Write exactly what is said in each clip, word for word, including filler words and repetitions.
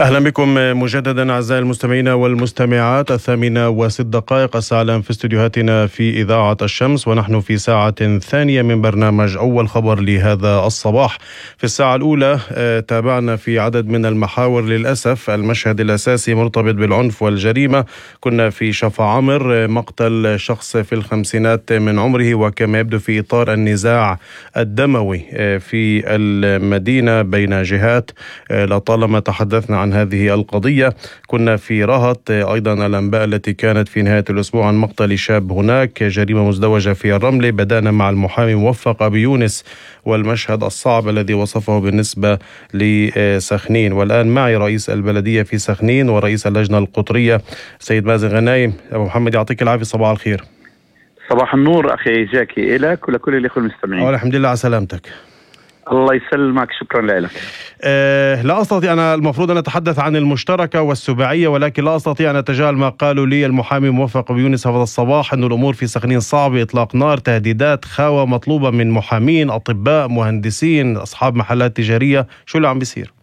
أهلا بكم مجددا أعزائي المستمعين والمستمعات. الثامنة وست دقائق الساعة الآن في استديوهاتنا في إذاعة الشمس، ونحن في ساعة ثانية من برنامج أول خبر لهذا الصباح. في الساعة الأولى تابعنا في عدد من المحاور للأسف المشهد الأساسي مرتبط بالعنف والجريمة. كنا في شفا عمر، مقتل شخص في الخمسينات من عمره، وكما يبدو في إطار النزاع الدموي في المدينة بين جهات. لطالما تحدثنا عن هذه القضية. كنا في رهط أيضا الأنباء التي كانت في نهاية الأسبوع عن مقتل شاب هناك، جريمة مزدوجة في الرملة. بدأنا مع المحامي موفق أبي يونس والمشهد الصعب الذي وصفه بالنسبة لسخنين، والآن معي رئيس البلدية في سخنين ورئيس اللجنة القطرية سيد مازن غنايم. أبو محمد يعطيك العافية، صباح الخير. صباح النور أخي جاكي، إلك ولكل الأخوة المستمعين. الحمد لله على سلامتك. الله يسلمك، شكرا لك. أه لا أستطيع، أنا المفروض أن أتحدث عن المشتركة والسباعية، ولكن لا أستطيع أن أتجاهل ما قالوا لي المحامي موفق أبي يونس هذا الصباح، أن الأمور في سخنين صعبة، إطلاق نار، تهديدات، خاوة مطلوبة من محامين، أطباء، مهندسين، أصحاب محلات تجارية. شو اللي عم بيصير؟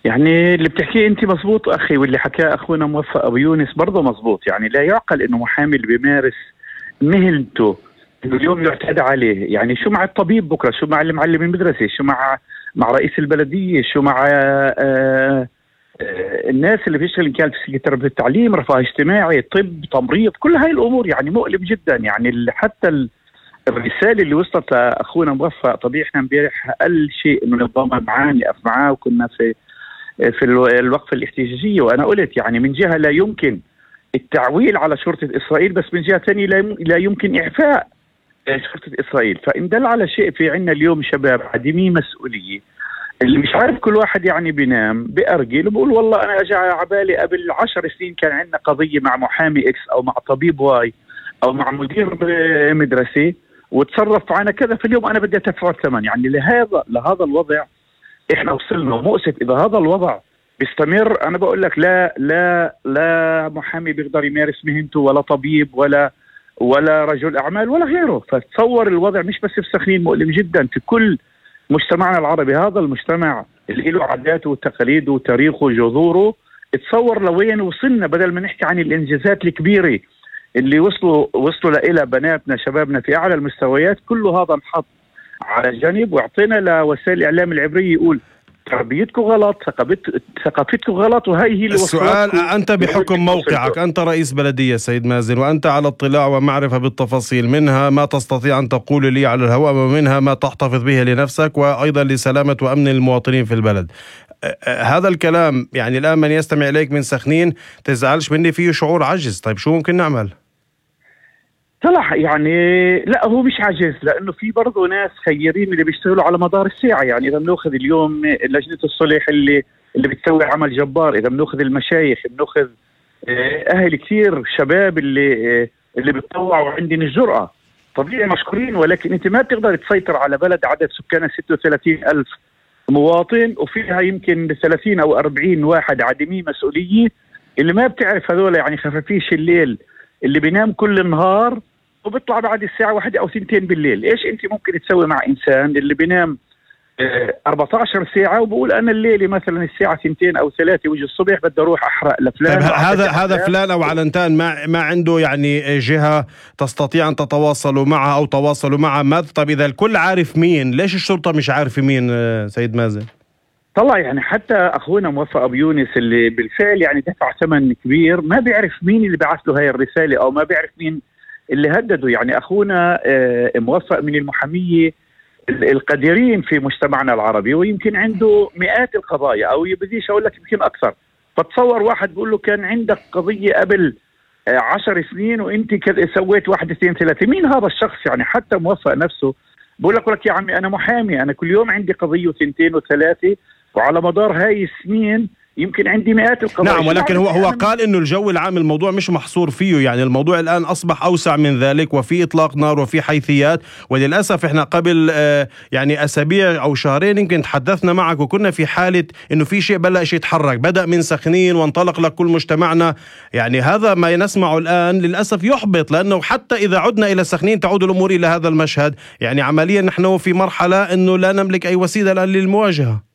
يعني اللي بتحكيه أنت مزبوط أخي، واللي حكاه أخونا موفق أبي يونس برضه مزبوط. يعني لا يعقل أنه محامي اللي بيمارس مهنته إنه اليوم يعتدى عليه. يعني شو مع الطبيب بكرة، شو مع المعلم المدرسة، شو مع مع رئيس البلدية، شو مع آآ آآ الناس اللي بيشتغل إن كانت في تربية التعليم، رفاه اجتماعي، طب، تمريض، كل هاي الأمور. يعني مؤلم جدا. يعني حتى الرسالة اللي وصلت لأخونا موفق، طبيعي إحنا امبارح أقل شيء إنه نتضامن معاه، نقف معاه، وكنا في في الوقفة الاحتجاجية، وأنا قلت يعني من جهة لا يمكن التعويل على شرطة إسرائيل، بس من جهة ثانية لا يمكن إعفاء شرطة إسرائيل. فإن دل على شيء، في عنا اليوم شباب عديمي مسؤولية، اللي مش عارف، كل واحد يعني بينام بأرجل وبقول والله أنا أجا عبالي قبل عشر سنين كان عندنا قضية مع محامي إكس أو مع طبيب واي أو مع مدير مدرسة وتصرف معنا كذا، في اليوم أنا بدي أدفع الثمن. يعني لهذا لهذا الوضع إحنا وصلنا. مؤسف إذا هذا الوضع بيستمر. أنا بقول لك لا لا لا محامي بيقدر يمارس مهنته، ولا طبيب، ولا ولا رجل أعمال، ولا غيره. فتصور الوضع مش بس في سخنين، مؤلم جدا في كل مجتمعنا العربي. هذا المجتمع اللي له عاداته وتقاليده وتاريخه وجذوره، تصور لوين وصلنا. بدل ما نحكي عن الإنجازات الكبيرة اللي وصلوا وصلوا لإلى بناتنا شبابنا في أعلى المستويات، كل هذا انحط على جانب، واعطينا لوسائل الإعلام العبرية يقول تربيتكم غلط، ثقافتكم غلط، وهي هي اللي السؤال. أنت بحكم موقعك، أنت رئيس بلدية سيد مازن، وأنت على اطلاع ومعرفة بالتفاصيل، منها ما تستطيع أن تقول لي على الهواء، ومنها ما تحتفظ به لنفسك وأيضا لسلامة وأمن المواطنين في البلد. هذا الكلام يعني الآن من يستمع إليك من سخنين تزعلش مني، فيه شعور عجز. طيب شو ممكن نعمل؟ طلع يعني لا، هو مش عجز، لانه في برضه ناس خيرين اللي بيشتغلوا على مدار الساعه. يعني اذا بناخذ اليوم لجنه الصلح اللي اللي بتسوي عمل جبار، اذا بناخذ المشايخ، بناخذ اهل كثير شباب اللي اللي بتطوعوا وعندهم الجرأه، طبيعي مشكورين. ولكن انت ما بتقدر تسيطر على بلد عدد سكانها ستة وثلاثين ألف مواطن، وفيها يمكن ثلاثين او أربعين واحد عديمي مسؤوليه، اللي ما بتعرف هذول يعني خفافيش الليل اللي بينام كل النهار وبيطلع بعد الساعة واحدة أو ثنتين بالليل. إيش أنت ممكن تسوي مع إنسان اللي بينام أربعة عشر ساعة وبقول أنا الليلة مثلا الساعة ثنتين أو ثلاثة وجه الصبح بدي أروح أحرق لفلان؟ طيب هذا هذا فلان أو علنتان ما ما عنده يعني جهة تستطيع أن تتواصلوا معها أو تواصلوا معها؟ ما طيب إذا الكل عارف مين، ليش الشرطة مش عارفة مين سيد مازن؟ طلع يعني حتى أخونا موفق أبي يونس اللي بالفعل يعني دفع ثمن كبير، ما بيعرف مين اللي بعث له هاي الرسالة أو ما بيعرف مين اللي هددوا. يعني أخونا موفق من المحامية القديرين في مجتمعنا العربي، ويمكن عنده مئات القضايا، أو بديش أقول لك يمكن أكثر. فتصور واحد بيقول له كان عندك قضية قبل عشر سنين وأنت سويت واحد اثنين ثلاثة، مين هذا الشخص؟ يعني حتى موفق نفسه بقول لك لك يا عمي أنا محامي، أنا كل يوم عندي قضية وثنتين وثلاثة، وعلى مدار هاي السنين يمكن عندي مئات القضايا. نعم، ولكن هو هو قال انه الجو العام الموضوع مش محصور فيه، يعني الموضوع الان اصبح اوسع من ذلك، وفي اطلاق نار وفي حيثيات. وللاسف احنا قبل آه يعني اسابيع او شهرين يمكن تحدثنا معك وكنا في حاله انه في شيء بلش يتحرك، بدا من سخنين وانطلق لكل مجتمعنا. يعني هذا ما نسمعه الان للاسف يحبط، لانه حتى اذا عدنا الى سخنين تعود الامور الى هذا المشهد. يعني عمليا نحن في مرحله انه لا نملك اي وسيله الان للمواجهه.